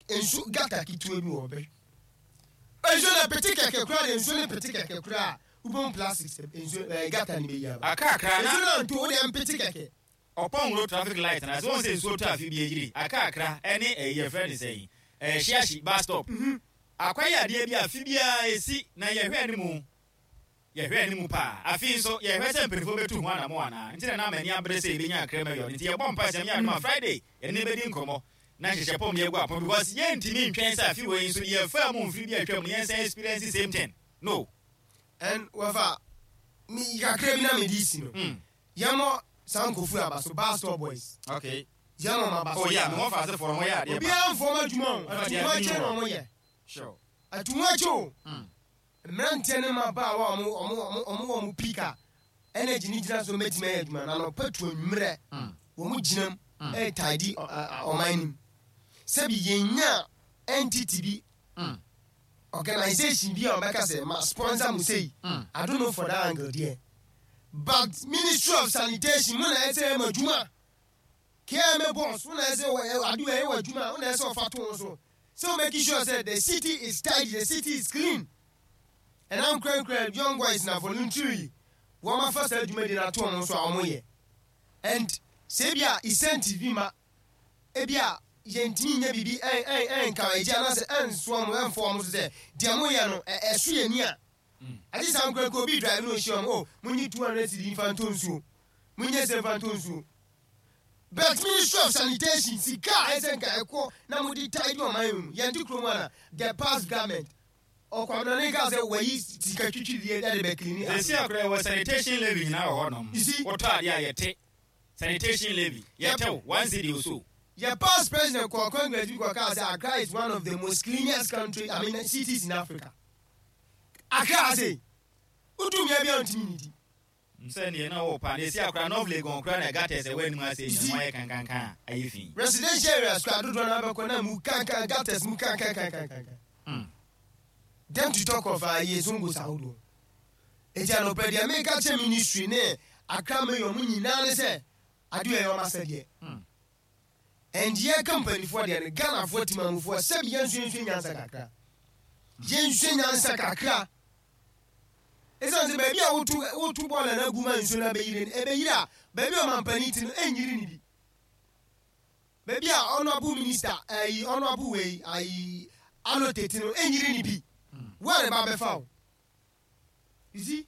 Nsu gutter ketewa bi wɔ hɔ bɛ. Nsuo no pete kɛkɛ koraa deɛ nsuo no pete kɛkɛ koraa a wobɛhu plastics nsuo ɛɛ gutter no bɛyi aba. Akakra na. Nsuo no anto wo deɛ mpete kɛkɛ. Ɔpɔn road traffic light na sɛ wɔn sɛ nsuo tɔ afi bi agyiri akakra ɛne ɛyi yɛfrɛ ne sɛn ɛɛ shiashi bus stop. Akwa yɛ adeɛ bi a afe biara ɛsi na yɛhwɛ anim. Yɛhwɛ anim paa. Afei nso, yɛhwɛ sɛ mpanyimfoɔ bɛtu ho anammɔn anaa. Nti na na m'ani abere sɛ yɛbɛnya Accra Mayor no. Nti yɛbɔ mpae sɛ Nyame adom a Friday yɛne no bɛdi nkɔmmɔ na nhyehyɛ pɔm de agu apon because yɛntumi ntwɛn sɛ afe wei nso deɛ yɛfaa mu mfiri bi a atwam no yɛnsan experience same thing. No. And wɔfa me kakra bi na mede resi no. Yɛmmɔ saa nkurɔfoɔ yi aba so, Bus Stop Boys. Okay. Yɛmmɔ wɔn aba so. Oh yeah, me wɔfa asefoɔ no, wɔyɛ adeɛ paa. Obiara mfa wɔn adwuma o, atuhoakyɛ na wɔyɛ. Sure. Atuhoakyɛ o. Mmeranteɛ ne mmabaawa a wɔn wɔ wɔn peak a energy no gyina so bɛtumi ayɛ adwuma no, anɔpa tu anwummerɛ wɔn gyina mu ɛretidy ɔman no mu. Sɛbi yɛnnya entity bi, organization bi a wɔbɛka sɛ ma sponsor mo sei, I don't know for that angle deɛ. But Ministry of Sanitation mo na ɛsɛ yɛ mo adwuma. KMA boss wo na ɛsɛ wɔ ade wɔ ɛyɛ wɔ adwuma wo na ɛsɛ ɔfa to ho so. Sɛ wo make sure sɛ the city is tidy, the city is clean. Ɛna nkorankora young boys na voluntarily wɔn afa saa dwumadie no ato wɔn so a wɔn yɛ. And sɛ ebi a incentive bi ma ebi a yɛntumi nyɛ biribi ɛn ɛn ɛn encourage anaasɛ ɛnsoa wɔn ɛnfɔ wɔn so sɛ deɛ mo yɛ no ɛ ɛso yɛ ni a. Agye saa nkorankora obi drive na ohyia wɔn oh monyi 200 cedi nfa ntɔ nsuo, monyɛ sɛ nfa ntɔ nsuo. But Ministry of Sanitation sika a ɛsɛ nka ɛkɔ na mode tidy ɔman mu no yɛnte kurom ana the past government ɔkwamena kaa sɛ wayi sika twitwirie ɛde bɛ clean Sɛsi akora yɛwɔ sanitation levy nyinaa wɔ hɔnom. You see? Wotɔ adeɛ a yɛte sanitation levy yɛtew 1 cedi or so. Yɛ past president kɔ congress bi kɔ kaa sɛ Accra is one of the most cleanest country, I mean, cities in Africa. Accra ase wotu mmea bi a ntumi nidi. Sɛ neɛ na wɔ pa na esi akora North Legon kora na gutters ɛwɔ anim ase nyina mu ayɛ kankankan a ayɛ fi. Residential areas kora dodoɔ no abɛkɔ na mu kankan gutters mu kankankankankan. Them to talk of ayɛ zongos ahodoɔ. Eti anɔpɛ deɛ meka kyerɛ ministry ne Accra mayor mu nyinaa ne sɛ adeɛ ɛyɛ ɔmo asɛdeɛ. And yɛka mpanimfoɔ deɛ no, Ghanafoɔ timamufoɔ sɛbi yɛnso yɛnsua nyansa kakra. Yɛnsua nyansa kakra. Ɛsiane sɛ baabi a woto woto bɔɔla no agu ma nsuo no abɛyiri no, ɛbɛyiri a baabi a ɔmampanin ti no ɛnyiri no bi. Baabi a honourable minister ayi honourable wei ayi Allotey ti no ɛnyiri no bi. Wo a ne ba bɛfa wo. You see?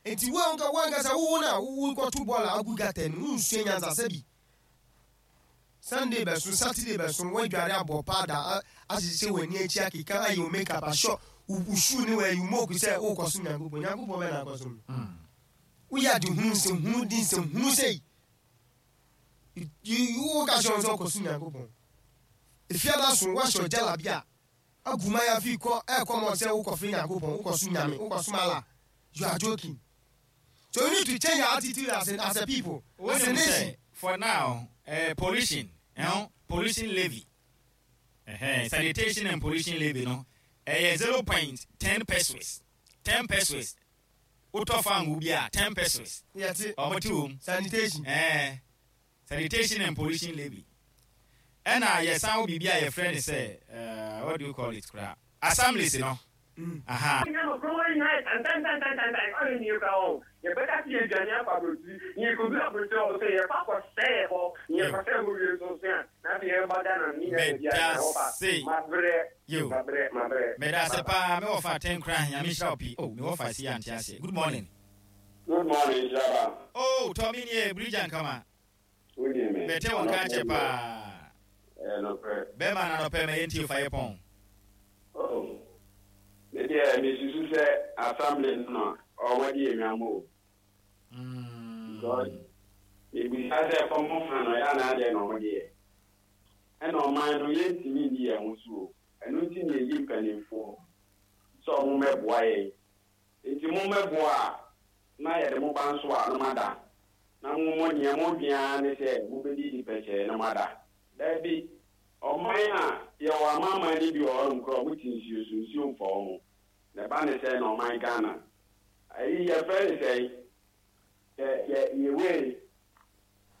Nti wo anka wo ankasa wo wo na wo kɔto bɔɔla agu gutter no wonsua nyansa sɛbi. Sunday bɛso, Saturday bɛso, woadware abɔ powder ahyehyɛ w'ani akyi akeka ayɛ wo makeup ahyɛ wo shoe ne w'ayi wo moku sɛ wokɔsom Nyankopɔn. Nyankopɔn bɛ na akɔsom no. Woyɛ ade hunu nsɛm hunu di nsɛm hunu sei. Woka kyerɛ wɔn sɛ wokɔsom Nyankopɔn. Efiada so woahyɛ ɔgyala bi a agu mayafi kɔ ɛkɔ mɔ sɛ wokɔfrɛ Nyankopɔn, wokɔsom Nyame, wokɔsom Allah. You are joking. So we need to change our attitude as a people, as a nation. For now, pollution, pollution levy, sanitation and pollution levy no, 0.10 pesos, 10 pesos. Wotɔ fango bi a 10 pesos. Yɛte. Ɔmo te wɔm. Sanitation. Sanitation and pollution levy. Ɛna yɛsan wo biribi a yɛfrɛ ne sɛ what do you call it kora? Assemblies no. Aha. Yɛbɛka sɛ yɛdwane akɔ aburokyiri na yɛkɔduru aburokyiri hɔ sɛ yɛkɔ akɔsɛe hɔ na yɛkɔsɛe hɔ wie nso so a na afei yɛba Ghana no ne nyinaa baabi a na wɔfa mabrɛ mabrɛ mabrɛ. Meda ase paa me wɔfa Tenkra Nyame nhyira wo pii oh me wɔfa si ante aseɛ good morning. Good morning nhyira ba. Oh Tɔmi nie Brigya Nkama. Wodie me. Mete wo nka akyɛ paa. Ɛyɛ nokorɛ. Bɛma na nɔpɛ ma yɛntie fa yɛ pɔn. Oh me deɛ me susu sɛ assembly no na ɔwɔ di enwam o. Because me bisa sɛ common fund no yɛ anaa deɛ na ɔmo de yɛ. Ɛna ɔman no yɛntumi nni yɛn ho so o. Ɛno nti na yɛyi mpanimfoɔ sɛ ɔmo mmɛboa yɛn. Nti mo mmɛboa a na yɛde mo ba nso a na moada. Na mo mo nea modwen ara ne sɛ mobɛdidi pɛkyɛɛ na moada. Dabi, ɔman a yɛwɔ amanaman no bi wɔ hɔnom koraa a wɔte nsuo so, nsuo mfa wɔn. Na ɛba ne sɛn na ɔman Ghana, ayi yɛfrɛ ne sɛn, yɛ yɛ yɛ wei,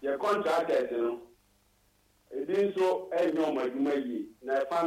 yɛ contractors no, ebi nso nyɛ wɔn adwuma yie, na ɛfa no.